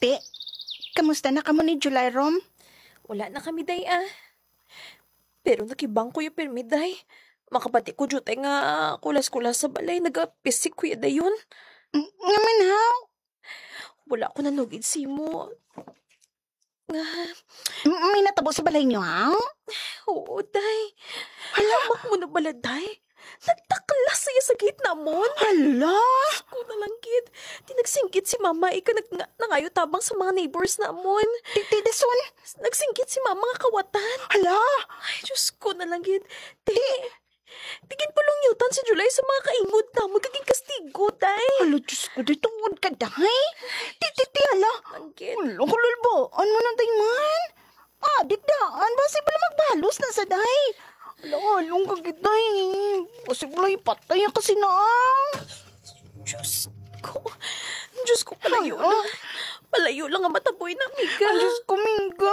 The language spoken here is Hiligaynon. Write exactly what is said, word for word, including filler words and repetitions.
Ti, kamusta na kamo ni July, Rom? Wala na kami, day, ah. Pero nakibang ko yung pirmi, day. Makabati ko, jutay nga kulas-kulas sa balay. Nagapisik ko ya dayon. Nga man, haw? Wala ko nanugid simo. Nga, M-, may natabo sa balay niyo, haw? Oo, day. Hala. Hamak mo na bala, day? Nagtaklas siya sa gate namon. Hala! Ko na lang gid. Di nagsinggit si mama, ika nag-, nga-, nangayo tabang sa mga neighbors namon. Ti, ti, dason? Nagsinggit si mama nga kawatan. Hala! Ay, Diyos ko na lang gid. Ti, di gid pulong yutan si July sa mga kaingod namon kag ginkastigo, day. Hala, Diyos ko, di tungod ka, day. Ti, ti, ti, hala. Ang gid. Hala, kalalbaan mo na, day, man. Ah, dikdaan, basi bala magbalos na sa day. Hala, halong ka gid, day. Basi bala ipatay ang kasi na. Diyos ko. Diyos ko, palayo Ay, lang. Palayo lang ang mataboy na, amiga. Ay, Diyos ko, Mingga.